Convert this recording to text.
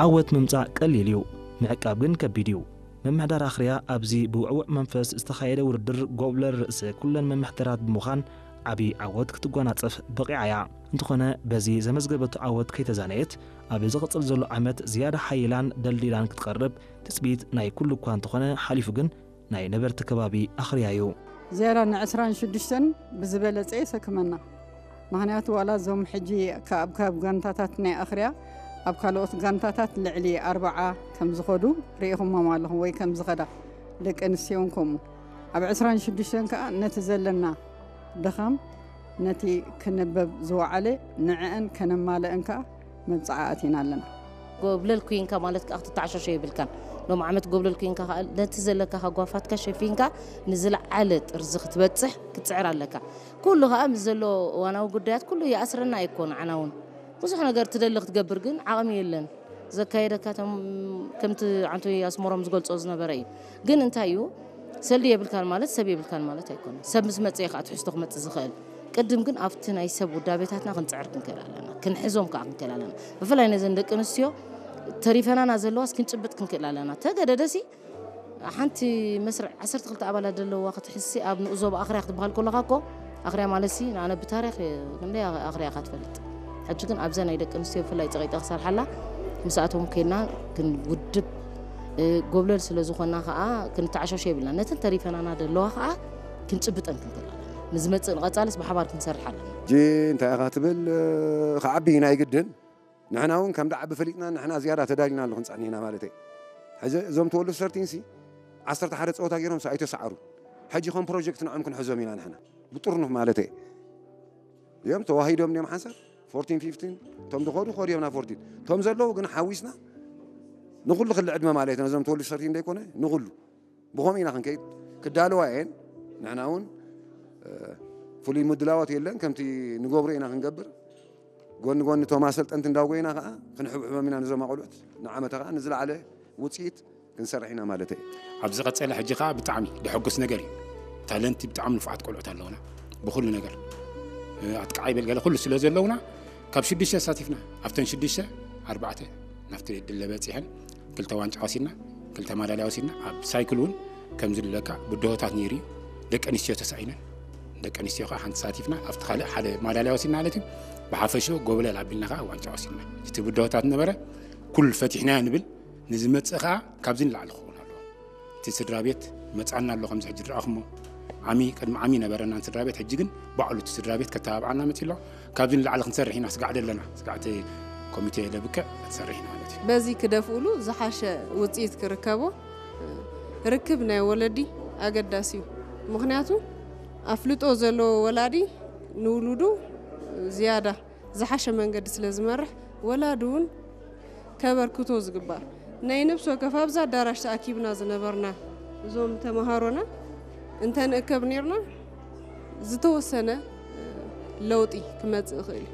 ዓወት ምምጻእ ቀሊል እዩ፣ ምዕቃብ ግን ከቢድ እዩ። ምምሕዳር ኣኽርያ ኣብዚ ብውዕውዕ መንፈስ ዝተኻየደ ውድድር ጎብለል ርእሰ ኩለን መምሕደራት ብምዃን ዓቢ ዓወት ክትጓናጸፍ በቒዓ እያ። እንተኾነ በዚ ዘመዝገበቶ ዓወት ከይተዛነየት ኣብ ዝቕጽል ዘሎ ዓመት ዝያዳ ሓይላን ደልዲላን ክትቐርብ ትጽቢት ናይ ኩሉ እኳ እንተኾነ ሓሊፉ ግን ናይ ነበርቲ ከባቢ ኣኽርያ እዩ። ዝያዳ ን ዕስራን ሽዱሽተን ብዝበለጸ የሰክመና። ምኽንያቱ ዋላ እዞም ሕጂ ካብ ካብ ጋንታታት ናይ ኣኽርያ ኣብ ካልኦት ጋንታታት ልዕሊ ኣርብዓ ከም ዝኸዱ ርኢኹሞም ኣለኹም ወይ ከም ዝኸዳ ደቂ ኣንስትዮን ከምኡ ኣብ ዕስራን ሽዱሽተን ከኣ ነቲ ዘለና ድኻም ነቲ ክነበብ ዝወዓለ ንዕአን ከነማልአን ከኣ መብጽዓ ኣቲና ኣለና። ጎብለል ኩንካ ማለት ከዓ ክትተዓሸሾ የብልካን። ሎም ዓመት ጎብለል ኩንካ ከዓ ነቲ ዘለካ ሃጓፋትካ ሸፊንካ ንዝለዓለ ጥርዚ ክትበፅሕ ክትፅዕር ኣለካ። ኩሉ ከዓ ምስ ዘሎ እዋናዊ ጉዳያት ኩሉ ይኣስረና ኣይኮን። ዓና እውን ብዙሕ ነገር ትደሊ ክትገብር ግን ዓቕሚ የለን። ዘካየደካ እቶም ከምቲ ዓንቶይ ኣስመሮም ዝገልጾ ዝነበረ እዩ። ግን እንታይ እዩ ሰልዲ የብልካን ማለት ሰብ የብልካን ማለት ኣይኮነን። ሰብ ምስ መጽአ ከዓ ትሕዝቶ ክመጽእ ዝኽእል። ቅድም ግን ኣብቲ ናይ ሰብ ውዳቤታትና ክንጽዕር ክንክእል ኣለና፣ ክንሕዞም ከዓ ክንክእል ኣለና። ብፍላይ ነዘን ደቂ ኣንስትዮ ተሪፈናና ዘለዋስ ክንጭብጥ ክንክእል ኣለና። ተገደደሲ ሓንቲ መስርዕ ዓሰርተ ክልተ ኣባላት ዘለዋ ክትሕዝሲ ኣብ ንኡዞ ብኣኽርያ ክትበሃል ከለኻ እኮ ኣኽርያ ማለትሲ ንኣነ ብታሪኽ ክንደይ ኣኽርያ ኢኻ ትፈልጥ። ሕጂ ግን ኣብዛ ናይ ደቂ ኣንስትዮ ብፍላይ ጸቒጠ ክሰርሓላ ምስኣቶም ኬድና ክንውድብ ጎብለል ስለ ዝኾና ከዓ ክንተዓሸሾ የብልና። ነተን ተሪፈናና ዘለዋ ከዓ ክንጭብጠን ክንክእል ኣለና። ንዝመፅእ ንቐፃልስ ብሓባር ክንሰርሕ ኣለና። ሕጂ እንታይ ኢኻ ትብል ክዓቢ ናይ ግድን ንሕና እውን ከም ደዓቢ ፈሊጥና ንሕና ዝያዳ ተዳሊና ኣሎ ክንፀኒ ኢና ማለት እየ። ሕዚ እዞም ተወልዱ ሰርቲንሲ ዓሰርተ ሓደ ፀወታ ገይሮም ኣይተሰዓሩ። ሕጂ ከም ፕሮጀክት ንዕም ክንሕዞም ኢና ንሕና ብጥርኑፍ ማለት እየ። እዮም ተዋሂዶም እዮም ሓንሳብ ፎርቲን ፊፍቲን እቶም ዝኸዱ ከዱ እዮም ናብ ፎርቲን እቶም ዘለዉ ግን ሓዊስና ንኩሉ ክሊ ዕድመ ማለት ነዞም ተወልዱ ሰርቲን ዘይኮነ ንኩሉ ብኸምኡ ኢና ክንከይድ ክዳለዋ እየን። ንሕና እውን ፍሉይ ምድላዋት የለን ከምቲ ንገብሮ ኢና ክንገብር ጎኒ ጎኒ እቶም ኣሰልጠንቲ እንዳጎይና ከዓ ክንሕብሕቦም ኢና ነዞም ኣቆልዑት ንዓመታ ከዓ ንዝለዓለ ውፅኢት ክንሰርሕ ኢና ማለት እዩ። ኣብ ዝቐፀለ ሕጂ ከዓ ብጣዕሚ ደሐጉስ ነገር እዩ። ታለንቲ ብጣዕሚ ንፉዓት ቆልዑት ኣለውና ብኩሉ ነገር ኣጥቃዓይ በል ገለ ኩሉ ስለ ዘለውና ካብ ሽዱሽተ ኣሳቲፍና ኣብተን ሽዱሽተ ኣርባዕተ ናብቲ ድለ በፂሐን ክልተ ዋንጫ ወሲድና ክልተ ማዳልያ ወሲድና ኣብ ሳይክል እውን ከምዚ ድለካ ብድሆታት ነይሩ እዩ። ደቂ ኣንስትዮ ተሳኢነን ደቂ ኣንስትዮ ከዓ ሓንቲ ተሳቲፍና ኣብቲ ካልእ ሓደ ማዳልያ ወሲድና ማለት እዩ። ብሓፈሽኡ ጎብለል ኣቢልና ከዓ ዋንጫ ወሲድና እቲ ብድሆታት ነበረ ኩሉ ፈቲሕናዮ ንብል ንዝመፅእ ከዓ ካብዚ ንላዕሊ ክኸውን ኣለዎ። እቲ ስድራ ቤት መፃና ኣሎ ከምዚ ሕጂ ድረኣኹሞ ዓሚ ቅድሚ ዓሚ ነበረና ስድራ ቤት ሕጂ ግን ባዕሉ እቲ ስድራ ቤት ከተባብዓና መፂ ኣሎ። ካብዚ ንላዕሊ ክንሰርሕ ኢና ስጋዕ ደለና ስጋዕቲ ኮሚቴ ለብክዕ ክንሰርሕ ኢና ማለት እዩ። በዚ ክደፍእሉ ዝሓሸ ውፅኢት ክርከቦ ርክብ ናይ ወለዲ ኣገዳሲ እዩ። ምክንያቱ ኣፍልጦ ዘለዎ ወላዲ ንውሉዱ ዝያዳ ዝሓሸ መንገዲ ስለ ዝመርሕ ወላዲ እውን ከበርክቶ ዝግባእ ናይ ነብሲ ወከፍ ኣብዚ ኣዳራሽ ተኣኪብና ዝነበርና እዞም ተምሃሮና እንተንእከብ ነርና ዝተወሰነ ለውጢ ክመፅእ ይኽእል እዩ።